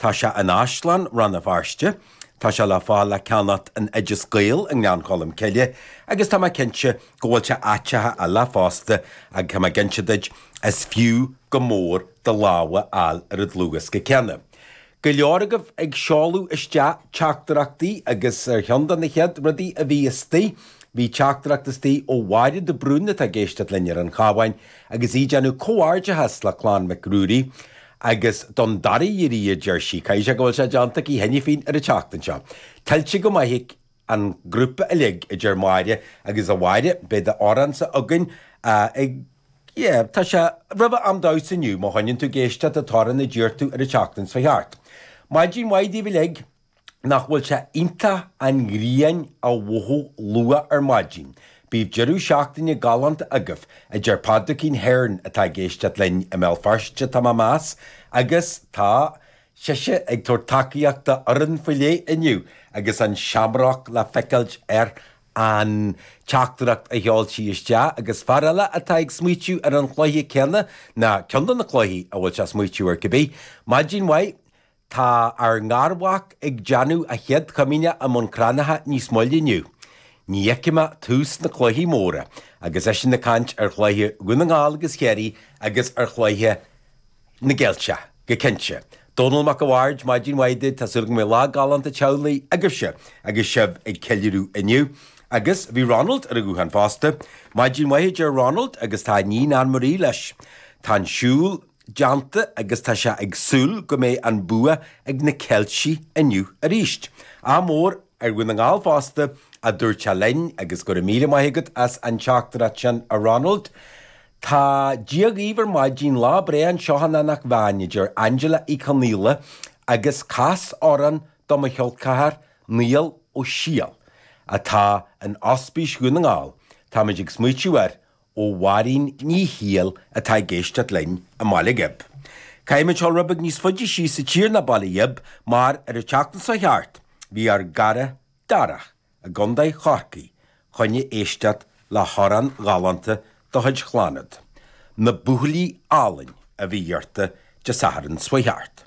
Tá sé in Áislann Rann na Feirste, tá sé le fáil le ceannacht in Oideas Gael i nGleann Cholm Cille agus tá mé cinnte go bhfuil sé áiteacha eile fosta agus tá mé ag inse duit, is fiú go mór do lámh a fháil ar an dlúthdhiosca céanna. Go leor agaibh ag seoladh isteach teachtaireachtaí agus ar cheann de na chéad rudaí a bhí istigh, bhí teachtaireacht istigh ó Mháire de Brún atá ag éisteacht linn ar an Chabhán agus í ag déanamh comhghairdeachas le clann Mhic Ruairí agus don dara hiarraidh a deir sí, caithfidh sé go bhfuil sé déanta aici cheana féin ar an tseachtain seo. Tuillte go maith ag an ngrúpa uilig, a deir Máire, agus a Mháire, beidh d'amhránsa againn ag, yeah, tá sé roimh am damhsa inniu, má choinníonn tú ag éisteacht an t-amhrán a d'iarr tú ar an tseachtain seo thart. Maidin mhaith daoibh uilig. Nach bhfuil sé iontach an ghrian a mhothú luath ar maidin? Bíodh deireadh seachtaine galánta agaibh, a deir Pádraicín Hearne atá ag éisteacht linn i mBéal Feirste, tá mé ag meas, agus tá sise ag tabhairt tacaíocht do fhoireann faoi leith inniu agus an seamroc le feiceáilt ar an teachtaireacht a sheol sí isteach agus fear eile atá ag smaoitiú ar an chluiche céanna, ná ceann de na cluichí a bhfuil sé ag smaoitiú air cibé. Maidin mhaith. Tá ár ngarmhac ag déanamh a chéad chomaoineach i mBun Cranncha níos moille inniu. Ní fheicfidh mé tús na cluichí móra, agus eisean ag caint ar chluiche Dhún na nGall agus Chiarraí agus ar chluiche na gCeilteach, go cinnte. Dónall Mac a' Bhaird, maidin mhaith duit, tá súil agam go mbeidh lá galánta teaghlaigh agaibhse agus sibh ag ceiliúradh inniu. Agus bhí Ronald ar an ghuthán fosta. Maidin mhaith a deir Ronald agus tá a iníon Anne Marie leis. Tá an siúl. déanta agus tá sé ag súil go mbeidh an bua ag na Ceiltigh inniu arís. Ádh mór ar Dhún na nGall fosta, a dúirt sé linn agus go raibh míle maith agat as an teachtaireacht sin, a Ronald. Tá Dia dhaoibh ar maidin, lá breá anseo in Eanach Mheáin, a deir Angela Uí Chonaola agus cas amhrán do mo chol ceathar Niall Ó Siadhail atá in Ospís Dhún na nGall. Táimid ag smaoitiú air ó Mháirín Ní Shiadhail atá ag éisteacht linn i mBaile Ghib. Caithfimid dul rud beag níos faide síos sa tír ná Baile Ghib mar ar an tseachtain seo thart bhí ár gcara Darach i gContae Chorcaí choinne éisteacht le hamhrán ghalánta de chuid Chlannad, Na Buachaillí Álainn a bhí iarrta Dé Sathairn seo thart.